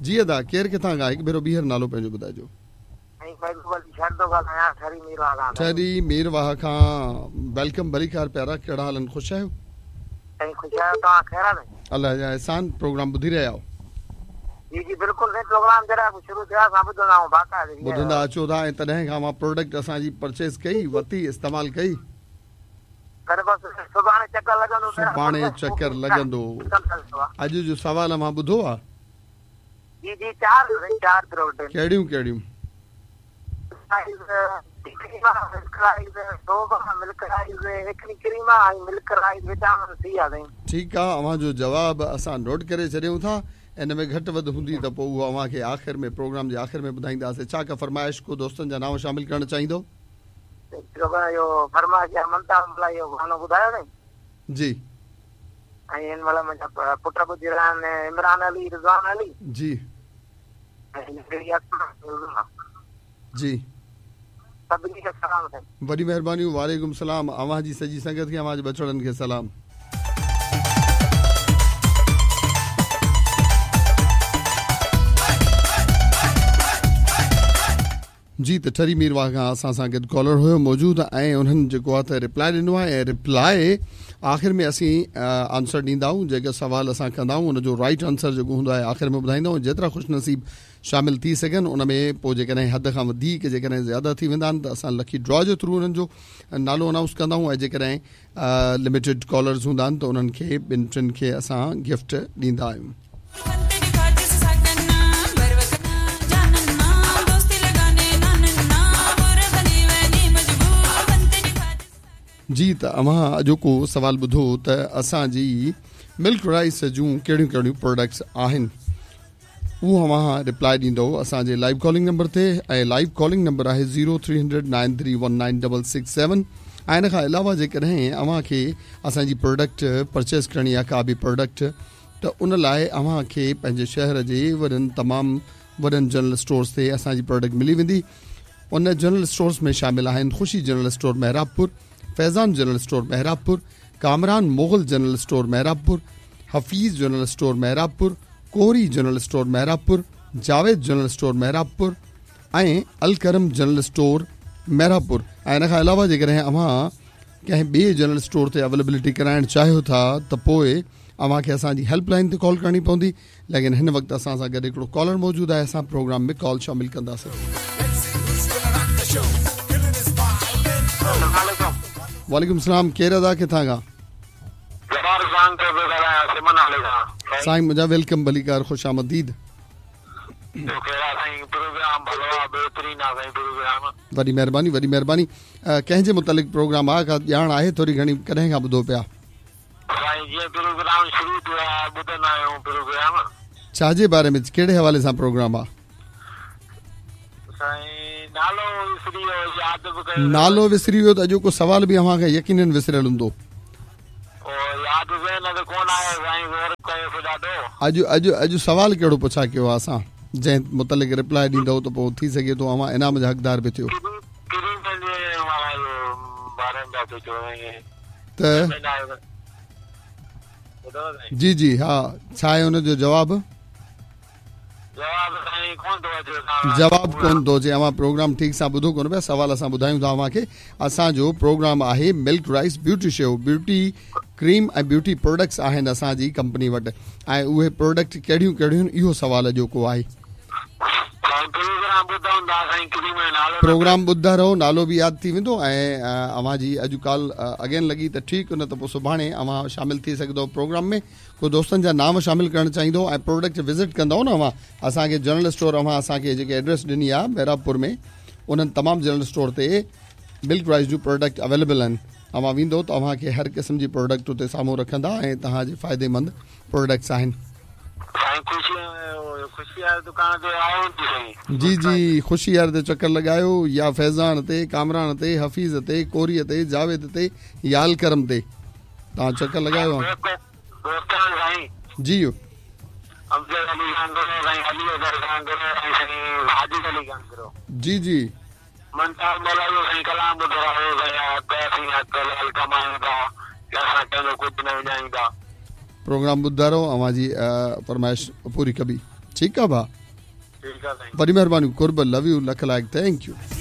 جي ادا ڪير ڪٿان کان هڪ ڀيرو ٻيهر نالو پنهنجو ٻڌائجو. سائين محبوب علي شر ٿو ڳالهايان ٺري ميرواهه کان سائين. ٺري ميرواهه کان welcome ڀليڪار پيارا ڪهڙا حال آهن خوش آهيو. سائين خوش آهيو توهان خير آهي سائين. الله جا احسان پروگرام ٻڌي رهيا آهيو. جي جي بلڪل سائين پروگرام جڏهن به شروع ٿيو آهي اسان ٻڌندا آهيون باقاعدي ٻڌندا اچو ٿا ۽ تڏهن کان اوهان پروڊڪٽ اسان جي پرچيز ڪئي ورتي استعمال ڪئي. پر بس سڀاڻي چڪر لڳندو سڀاڻي چڪر لڳندو اڄ جو سوال اوهان ٻڌو آ. جي جي چار سائين چار پروڊڪٽ. ڪهڙيون ڪهڙيون. ٺيڪ آ اوهان جو جواب اسان نوٽ ڪري ڇڏيون ٿا ان ۾ گهٽ وڌ هوندي ته پوء اهو اوهان کي آخر ۾ پروگرام جي آخر ۾ ٻڌائينداسين ڇا ڪا فرمائش ڪو دوستن جا نانء شامل ڪرڻ چاهيندو. فرمائش ممتاز ملاح جو گانو ٻڌايو سائين. جي. ۽ هن مهل منهنجا پٽ ٻڌي رهيا آهن عمران علي رضوان علي. جي. ۽ ننڍڙي اسما عظميٰ. جي. سڀني کي سلام سائين. وڏي مهربانيون وعليڪم سلام اوهان جي سڄي سنگت کي اوهان جي ٻچڙن کي سلام. جي ته ٺري ميرواهه کان اسان سان گڏ ڪالر هيو موجود ۽ انهن جيڪو آهي ته رپلائي ڏنو آهي ۽ رپلائي آخر ۾ اسين آنسر ڏيندا آهيون جيڪو سوال اسان ڪندا آهيون ان جو رائٽ آنسر جيڪو هوندو آهي آخر ۾ ٻڌائيندا آهيون جيترا خوش نصيب شامل ٿي سگهن ان ۾ پوء جيڪڏهن حد کان وڌيڪ جيڪڏهن زياده ٿي ويندا آهن ته اسان لڪي ڊرا جي ٿرو انهن جو نالو انائونس ڪندا آهيون ۽ جيڪڏهن لميٽيڊ ڪالرز هوندا آهن ته انهن کي ٻن ٽن کي اسان گفٽ ڏيندا آهيون. جي ته اوهان اڄوڪو سوال ٻڌو ته اسان جي ملڪ رائس جون ڪهڙيون ڪهڙيون پروڊڪٽس آهن اهو اوهان رپلائي ڏيندو اسان جي لائيو ڪالنگ نمبر تي ۽ لائيو ڪالنگ نمبر آهي zero three hundred nine three one nine double six seven ۽ ان کان علاوه جيڪڏهن اوهان کي اسان جي پروڊڪٽ پرچيز ڪرڻي آهي ڪا به پروڊڪٽ ته ان لاء اوهان کي پنهنجي شهر جي وڏن تمام وڏن جنرل اسٽورز تي اسان جي پروڊڪٽ ملي ويندي ان جنرل اسٽورز ۾ شامل آهن Khushi general store Mehrabpur Faizan general store Mehrabpur Kamran Mughal general store Mehrabpur Hafeez general store Mehrabpur Kori general store Mehrabpur Javed general store Mehrabpur ۽ Alkaram general store Mehrabpur ۽ ان کان علاوه جيڪڏهن اوهان ڪنهن ٻئي general store تي availability ڪرائڻ چاهيو ٿا ته پوء اوهان کي اسان جي هيلپ لائن تي ڪال ڪرڻي پوندي ليڪن هن وقت اسان سان گڏ هڪڙو ڪالر موجود آهي اسان پروگرام ۾ ڪال شامل ڪنداسين. وعليڪم السلام ڪير ادا ڪٿان کان. جبار خان ٿو پيو ڳالهايان سمن نالي کان. سائين منهنجا welcome ڀليڪار خوش آمديد. ٻيو خير آ سائين پروگرام ڀلو آ بهترين آ سائين پروگرام. وڏي مهرباني وڏي مهرباني ڪنهن جي متعلق پروگرام آ ڪا ڄاڻ آهي ٿوري گهڻي ڪڏهن کان ٻڌو پيا. سائين جيئن پروگرام شروع ٿيو آ ٻڌندا آهيون پروگرام. ڇا جي باري ۾ ڪهڙي حوالي سان پروگرام آ. سائين نالو وسري ويو ياد به ڪيو. نالو وسري ويو ته اڄوڪو سوال به اوهان کي يقينن وسريل هوندو. او ياد ذهن تي ڪونه آيو سائين غور ڪيوسين ڏاڍو. اڄ اڄ اڄ سوال ڪهڙو پڇا ڪيو آ اسان جنهن متعلق رپلائي ڏيندؤ ته پوء ٿي سگهي ٿو اوهان انعام جا حقدار به ٿيو. ڪريم پنهنجي باري ۾ پيا چئو سائين. ته جي جي ها ڇا آهي ان جو جواب؟ جواب ڪون ٿو اچي اوهان پروگرام ٺيڪ سان ٻڌو ڪونه پيا سوال اسان ٻڌايون ٿا اوهان کي اسان جو پروگرام آهي milk rice beauty shave beauty cream ۽ beauty products آهن اسان جي ڪمپني وٽ ۽ اهي پروڊڪٽ ڪهڙيون ڪهڙيون اهو سوال اڄوڪو آهي پروگرام ٻڌندا رهو نالو به ياد ٿي ويندو ۽ اوهان جي اڄ ڪال اگين لڳي ته ٺيڪ نه ته پوء سڀاڻي اوهان شامل ٿي سگهندو پروگرام ۾ ڪو دوستن جا نانء شامل ڪرڻ چاهيندو ۽ پروڊڪٽ وزٽ ڪندو نه اوهان اسان کي جنرل اسٽور اوهان اسان کي جيڪي ايڊريس ڏني آهي محرابپور ۾ انهن تمام جنرل اسٽور تي ملڪ رائس جون پروڊڪٽ اويليبل آهن اوهان ويندو ته اوهان کي هر قسم جي پروڊڪٽ اتي سامهون رکندا ۽ توهان جي فائدي مند پروڊڪٽس آهن. سائين خوشي خوشي واري دڪان تي آيو هوندي سائين. جي جي خوشي واري تي چڪر لڳايو يا فيضان تي ڪامران تي حفيظ تي ڪوري تي جاويد تي يا الڪرم تي توهان چڪر لڳايو. دوستان سائين. جي. امجد علي گانگرو سائين علي اصغر گانگرو ۽ سائين ساجد علي گانگرو. جي جي. ممتاز مولائي سائين ڪلام ٻڌرايو سائين حق اسين حق حلال ڪمايون ٿا اسان ڪنهن جو ڪجهه نه وڃايون ٿا. پروگرام ٻڌندا رهو اوهان جي فرمائش پوري ڪبي. ٺيڪ آ ڀاء. ٺيڪ آ سائين. وڏي مهرباني، قرب، لو you, lakh لائق، thank you.